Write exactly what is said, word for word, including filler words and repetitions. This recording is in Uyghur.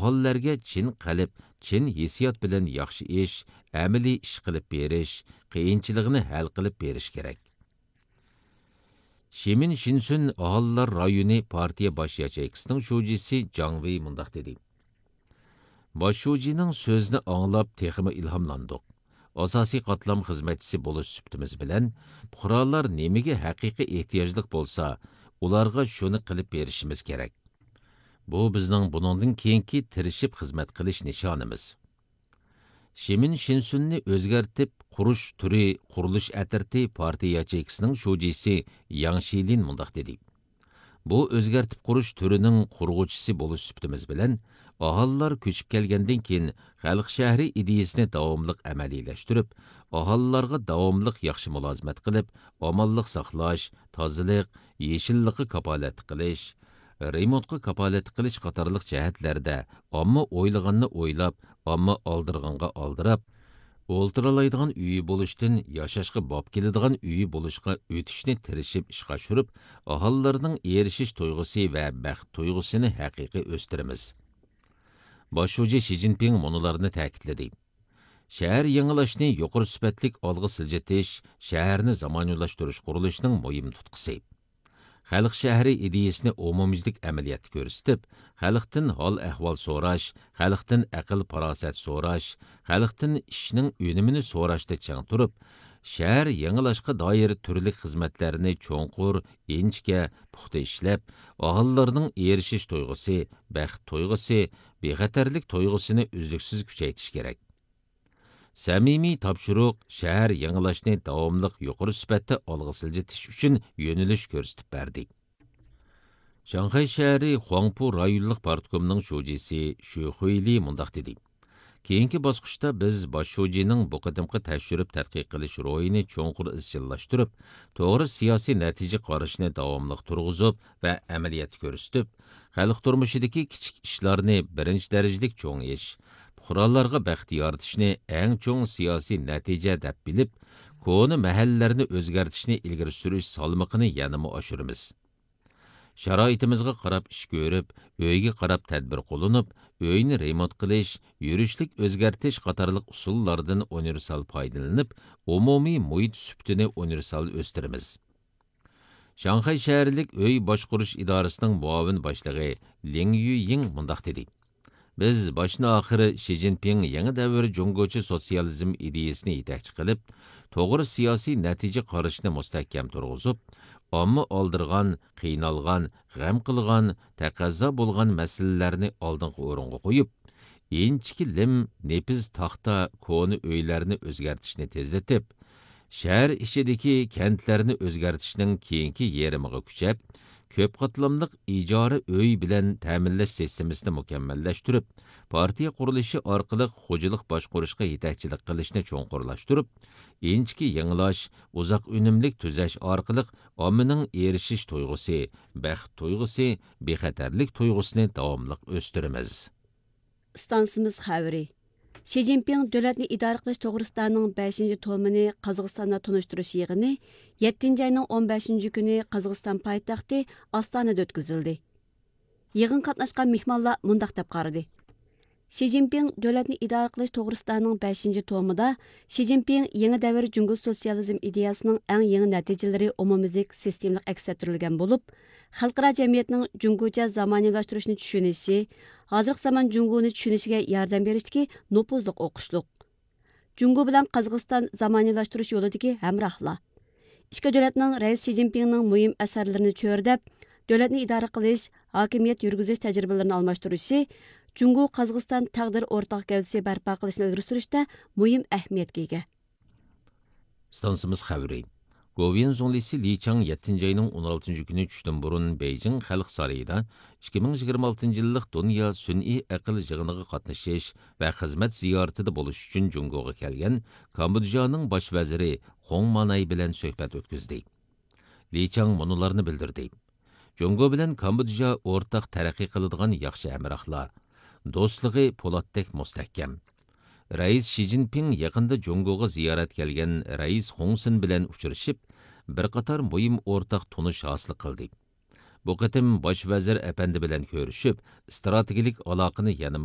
ئاھالىلەرگە چىن قەلب، چىن ھېسسىيات بىلەن ياخشى ئىش، ئەمەلىي ئىش قىلىپ بېرىش، قىيىنچىلىقنى ھەل قىلىپ بېرىش كېرەك. شىمىن شىنسۈن ئاھالىلەر رايونى پارتىيە باش ياچېيكىسىنىڭ شۇجىسى جاڭ ۋېي مۇنداق دېدى: باش شۇجىنىڭ سۆزىنى ئاڭلاپ تېخىمۇ ئىلھاملاندۇق. ئاساسىي قاتلام خىزمەتچىسى بولۇش سۈپىتىمىز بىلەن، پۇقرالار نېمىگە ھەقىقىي ئېھتىياجلىق بولسا، ئۇلارغا شۇنى قىلىپ بېرىشىمىز كېرەك. بۇ بىزنىڭ بۇنىڭدىن كېيىنكى تىرىشىپ خىزمەت قىلىش نىشانىمىز. شىمىن شىنسۈننى ئۆزگەرتىپ قۇرۇش تۈرى قۇرۇلۇش ئەترىتى پارتىيە ياچېيكىسىنىڭ شۇجىسى ياڭ شىلىن مۇنداق دېدى: بۇ ئۆزگەرتىپ قۇرۇش تۈرىنىڭ قۇرغۇچىسى بولۇش سۈپىتىمىز بىلەن، ئاھالىلار كۆچۈپ كەلگەندىن كېيىن خەلق شەھىرى ئىدىيەسىنى داۋاملىق ئەمەلىيلەشتۈرۈپ، ئاھالىلارغا داۋاملىق ياخشى مۇلازىمەت قىلىپ، ئامانلىق ساقلاش، تازىلىق، يېشىللىققا كاپالەتلىك قىلىش، رېمونتقا كاپالەتلىك قىلىش قاتارلىق جەھەتلەردە ئامما ئويلىغاننى ئويلاپ، ئامما ئالدىرىغانغا ئالدىراپ، ئولتۇرالايدىغان ئۆيى بولۇشتىن ياشاشقا باب كېلىدىغان ئۆيى بولۇشقا ئۆتۈشنى تىرىشىپ ئىشقا ئاشۇرۇپ، ئاھالىلارنىڭ ئېرىشىش تۇيغۇسى ۋە بەخت تۇيغۇسىنى ھەقىقىي ئۆستۈرىمىز. باش شۇجى شى جىنپىڭ مۇنۇلارنى تەكىتلىدى: شەھەر يېڭىلاشنى يۇقىرى سۈپەتلىك ئالغا سىلجىتىش، شەھەرنى زامانىۋىلاشتۇرۇش قۇرۇلۇشىنىڭ مۇھىم تۇتقىسى. خەلق شەھىرى ئىدىيەسىنى ئومۇميۈزلۈك ئەمەلىيەتتە كۆرسىتىپ، خەلقتىن ھال-ئەھۋال سوراش، خەلقتىن ئەقىل-پاراسەت سوراش، خەلقتىن ئىشنىڭ ئۈنۈمىنى سوراشتا چىڭ تۇرۇپ، شەھەر يېڭىلاشقا دائىر تۈرلۈك خىزمەتلەرنى چوڭقۇر، ئىنچىكە، پۇختا ئىشلەپ، ئاھالىلارنىڭ ئېرىشىش تۇيغۇسى، بەخت تۇيغۇسى، بىخەتەرلىك تۇيغۇسىنى ئۈزلۈكسىز كۈچەيتىش كېرەك. سەمىمىي تاپشۇرۇق شەھەر يېڭىلاشنى داۋاملىق يۇقىرى سۈپەتتە ئالغا سىلجىتىش ئۈچۈن يۆنىلىش كۆرسىتىپ بەردى. شاڭخەي شەھىرى خۇاڭپۇ رايونلۇق پارتكومنىڭ شۇجىسى شۈ خۇيلى مۇنداق دېدى: كېيىنكى باسقۇچتا بىز باش شۇجىنىڭ بۇ قېتىمقى تەكشۈرۈپ تەتقىق قىلىش روھىنى چوڭقۇر ئىزچىللاشتۇرۇپ، توغرا سىياسىي نەتىجە قارىشىنى داۋاملىق تۇرغۇزۇپ ۋە ئەمەلىيەتتە كۆرسىتىپ، خەلق تۇرمۇشىدىكى كىچىك ئىشلارنى بىرىنچى دەرىجىلىك چوڭ ئىش، پۇقرالارغا بەخت يارىتىشنى ئەڭ چوڭ سىياسىي نەتىجە دەپ بىلىپ، كونا مەھەللىلەرنى ئۆزگەرتىشنى ئىلگىرى سۈرۈش سالمىقىنى يەنىمۇ ئاشۇرىمىز. شارائىتىمىزغا قاراپ ئىش كۆرۈپ، ئۆيگە قاراپ تەدبىر قوللىنىپ، ئۆينى رېمونت قىلىش، يۈرۈشلۈك ئۆزگەرتىش قاتارلىق ئۇسۇللاردىن ئۇنىۋېرسال پايدىلىنىپ، ئومۇمىي مۇھىت سۈپىتىنى ئۇنىۋېرسال ئۆستۈرىمىز. شاڭخەي شەھەرلىك ئۆي باشقۇرۇش ئىدارىسىنىڭ مۇئاۋىن باشلىقى لىڭ يۈيىڭ مۇنداق دېدى: بىز باشتىن ئاخىر شى جىنپىڭ يېڭى دەۋر جۇڭگوچە سوتسىيالىزم ئىدىيەسىنى يېتەكچى قىلىپ، توغرا سىياسىي نەتىجە قارىشىنى مۇستەھكەم تۇرغۇزۇپ، ئامما ئالدىرىغان، قىينالغان، غەم قىلغان، تەقەززا بولغان مەسىلىلەرنى ئالدىنقى ئورۇنغا قويۇپ، ئىنچىكە لىم، نېپىز تاختا، كونا ئۆيلەرنى ئۆزگەرتىشنى تېزلىتىپ، شەھەر ئىچىدىكى كەنتلەرنى ئۆزگەرتىشنىڭ كېيىنكى يېرىمىغا كۈچەپ، كۆپ قاتلاملىق ئىجارە ئۆي بىلەن تەمىنلەش سىستېمىسىنى مۇكەممەللەشتۈرۈپ، پارتىيە قۇرۇلۇشى ئارقىلىق خوجىلىق باشقۇرۇشقا يېتەكچىلىك قىلىشنى چوڭقۇرلاشتۇرۇپ، ئىنچىكە يېڭىلاش، ئۇزاق ئۈنۈملۈك تۈزەش ئارقىلىق ئاممىنىڭ ئېرىشىش تۇيغۇسى، بەخت تۇيغۇسى، بىخەتەرلىك تۇيغۇسىنى داۋاملىق ئۆستۈرىمىز. ئىستانسىمىز خەۋىرى. شى جىنپىڭ دۆلەتنى ئىدارە قىلىش توغرىسىدانىڭ بەشىنچى تومىنى قازاقىستاندا تونۇشتۇرۇش يىغىنى يەتتىنچى ئاينىڭ ئون بەشىنچى كۈنى قازاقىستان پايتەختى ئاستانىدا ئۆتكۈزۈلدى. يىغىنغا قاتناشقان مېھمانلار مۇنداق دەپ قارىدى: شى جىنپىڭ دۆلەتنى ئىدارە قىلىش توغرىسىدانىڭ بەشىنچى تومىدا شى جىنپىڭ يېڭى دەۋر جۇڭگو سوتسىيالىزم ئىدىيەسىنىڭ ئەڭ يېڭى نەتىجىلىرى ئومۇميۈزلۈك سىستېمىلىق ئەكس ئەتتۈرۈلگەن بولۇپ، خەلقئارا جەمئىيەتنىڭ جۇڭگوچە زامانىۋىلاشتۇرۇشنى چۈشىنىشى، ھازىرقى زامان جۇڭگونى چۈشىنىشىگە ياردەم بېرىشتىكى نوپۇزلۇق ئوقۇشلۇق. جۇڭگو بىلەن قازاقىستان زامانىۋىلاشتۇرۇش يولىدىكى ھەمراھلار. ئىككى دۆلەتنىڭ رەئىس شى جىنپىڭنىڭ مۇھىم ئەسەرلىرىنى چۆرىدەپ، دۆلەتنى ئىدارە قىلىش، ھاكىمىيەت يۈرگۈزۈش تەجرىبىلىرىنى ئالماشتۇرۇشى جۇڭگو قازاقىستان تەقدىر ئورتاق گەۋدىسى بەرپا قىلىشنى ئىلگىرى سۈرۈشتە مۇھىم ئەھمىيەتكە ئىگە. ئىستانسىمىز خەۋىرى. گوۋۇيۈەن زۇڭلىسى لى چاڭ يەتتىنچى ئاينىڭ ئون ئالتىنچى كۈنى چۈشتىن بۇرۇن بېيجىڭ خەلق سارىيىدا ئىككى مىڭ يىگىرمە ئالتىنچى يىللىق دۇنيا سۈنئىي ئەقىل يىغىنىغا قاتنىشىش ۋە خىزمەت زىيارىتىدە بولۇش ئۈچۈن جۇڭگوغا كەلگەن كامبودژانىڭ باش ۋەزىرى خۇڭ ماناي بىلەن سۆھبەت ئۆتكۈزدى. لى چاڭ مۇنۇلارنى بىلدۈردى: جۇڭگو بىلەن كامبودژا ئورتاق تەرەققىي قىلىدىغان ياخشى ھەمراھلار، دوستلۇقى پولاتتەك مۇستەھكەم. رەئىس شى جىنپىڭ يېقىندا جۇڭگوغا زىيارەت كەلگەن رەئىس خۇڭ سېن بىلەن ئۇچرىشىپ، بىر قاتار مۇھىم ئورتاق تونۇش ھاسىل قىلدى. بۇ قېتىم باش ۋەزىر ئەپەندى بىلەن كۆرۈشۈپ، ئىستراتېگىيەلىك ئالاقىنى يەنىمۇ